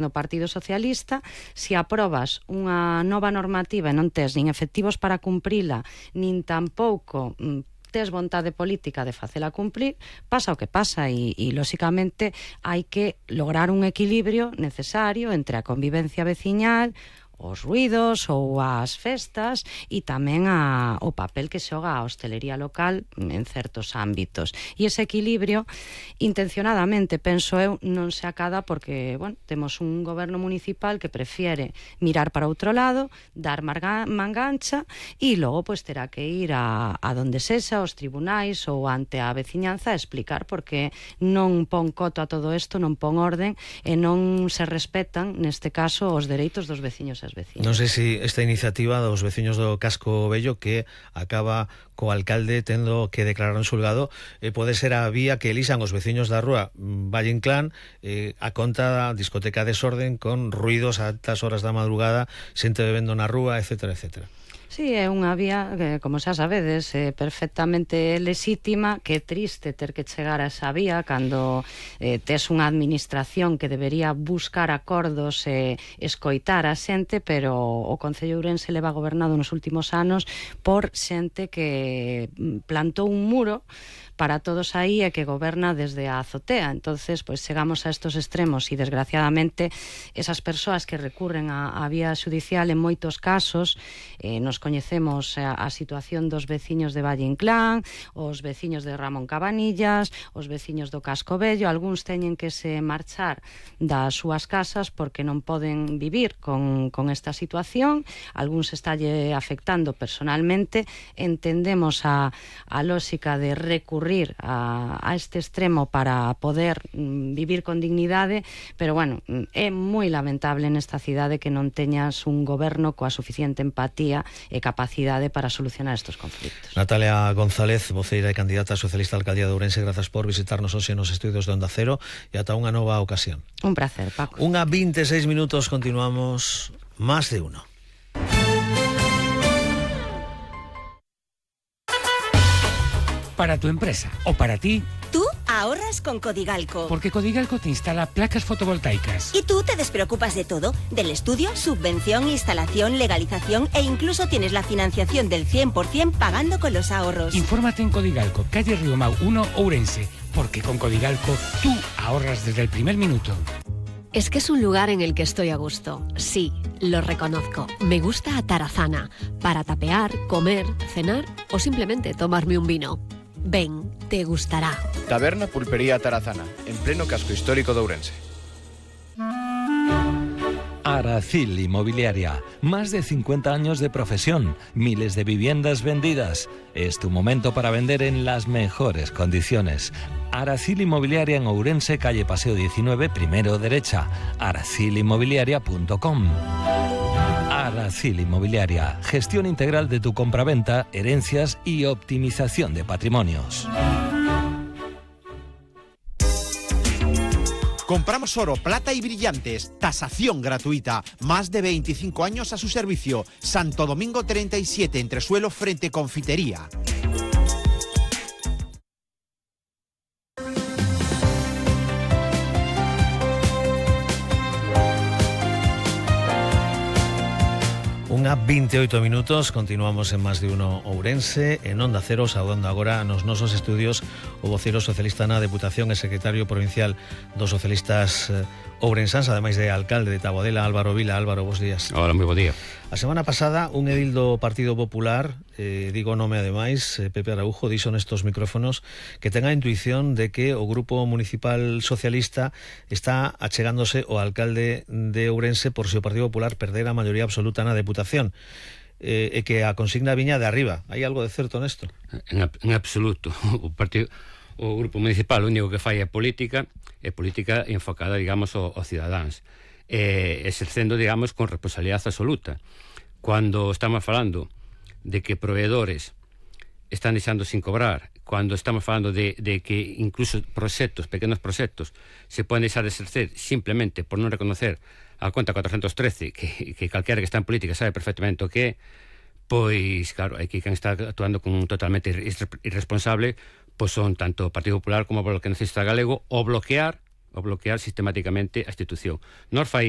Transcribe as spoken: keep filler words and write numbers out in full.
do Partido Socialista, se aprobas unha nova normativa e non tes nin efectivos para cumprila, nin tampouco tes vontade política de facela cumplir, pasa o que pasa e, e lóxicamente, hai que lograr un equilibrio necesario entre a convivencia veciñal, os ruidos ou as festas e tamén a, o papel que xoga a hostelería local en certos ámbitos. E ese equilibrio, intencionadamente, penso eu, non se acada porque, bueno, temos un goberno municipal que prefiere mirar para outro lado, dar marga, mangancha e logo pois terá que ir a, a donde sexa, aos tribunais ou ante a veciñanza a explicar porque non pon coto a todo isto, non pon orden e non se respetan, neste caso, os dereitos dos veciños e vecinos. Non sei se esta iniciativa dos veciños do Casco Vello que acaba co alcalde tendo que declarar en xulgado eh, pode ser a vía que elixan os veciños da rúa Valle Inclán eh, a conta da discoteca Desorden con ruidos a altas horas da madrugada, xente bebendo na rúa, etcétera, etcétera. Sí, é unha vía que, como xa sabedes, é perfectamente lexítima, que é triste ter que chegar a esa vía cando eh, tes unha administración que debería buscar acordos e escoitar a xente, pero o Concello de Ourense leva gobernado nos últimos anos por xente que plantou un muro para todos aí e que goberna desde a azotea. Entonces, pues chegamos a estos extremos e desgraciadamente esas persoas que recurren a, a vía judicial en moitos casos eh, nos coñecemos a, a situación dos veciños de Valle Inclán, os veciños de Ramón Cabanillas, os veciños do Casco Vello, algúns teñen que se marchar das súas casas porque non poden vivir con, con esta situación, algúns estalle afectando personalmente. Entendemos a, a lógica de recurrir A, a este extremo para poder mm, vivir con dignidade, pero bueno, é moi lamentable nesta cidade que non teñas un goberno coa suficiente empatía e capacidade para solucionar estes conflitos. Natalia González, voceira e candidata socialista á alcaldía de Ourense, grazas por visitarnos hoxe nos estudios de Onda Cero e ata unha nova ocasión. Un placer, Paco. Unha veintiséis minutos, continuamos Más de Uno. Para tu empresa o para ti, tú ahorras con Codigalco. Porque Codigalco te instala placas fotovoltaicas. Y tú te despreocupas de todo, del estudio, subvención, instalación, legalización e incluso tienes la financiación del cien por ciento pagando con los ahorros. Infórmate en Codigalco, calle Riomau uno, Ourense, porque con Codigalco tú ahorras desde el primer minuto. Es que es un lugar en el que estoy a gusto. Sí, lo reconozco. Me gusta Atarazana, para tapear, comer, cenar o simplemente tomarme un vino. Ven, te gustará. Taberna Pulpería Tarazana, en pleno casco histórico de Ourense. Aracil Inmobiliaria, más de cincuenta años de profesión, miles de viviendas vendidas. Es tu momento para vender en las mejores condiciones. Aracil Inmobiliaria en Ourense, calle Paseo diecinueve, primero derecha, aracil inmobiliaria punto com. Aracil Inmobiliaria, gestión integral de tu compraventa, herencias y optimización de patrimonios. Compramos oro, plata y brillantes, tasación gratuita, más de veinticinco años a su servicio. Santo Domingo treinta y siete, entresuelo frente Confitería. Unha veintiocho minutos, continuamos en Más de Uno Ourense, en Onda Cero, saudando agora nos nosos estudios o voceiro socialista na Deputación e secretario provincial dos socialistas ourensáns, ademais de alcalde de Taboadela, Álvaro Vila. Álvaro, bos días. Hola, moi bo día. A semana pasada, un edil do Partido Popular, eh, digo nome ademais, eh, Pepe Araujo, dixo nestos micrófonos que ten a intuición de que o Grupo Municipal Socialista está achegándose ao alcalde de Ourense por se o Partido Popular perder a maioría absoluta na Deputación. Eh, e que a consigna viña de arriba. Hai algo de certo nesto? En, en absoluto. O partido, o Grupo Municipal, o único que fai é política, é política enfocada, digamos, aos cidadáns, eh, exercendo, digamos, con responsabilidade absoluta. Cando estamos falando de que proveedores están deixando sin cobrar, cando estamos falando de, de que incluso proxectos, pequenos proxectos, se poden deixar de exercer simplemente por non reconocer a conta cuatrocentos trece, que, que calquera que está en política sabe perfectamente o que é, pois, claro, aquí quen está actuando con totalmente irresponsable, pois son tanto o Partido Popular como o Bloque Nacionalista Galego, o bloquear o bloquear sistemáticamente a institución. Nos fai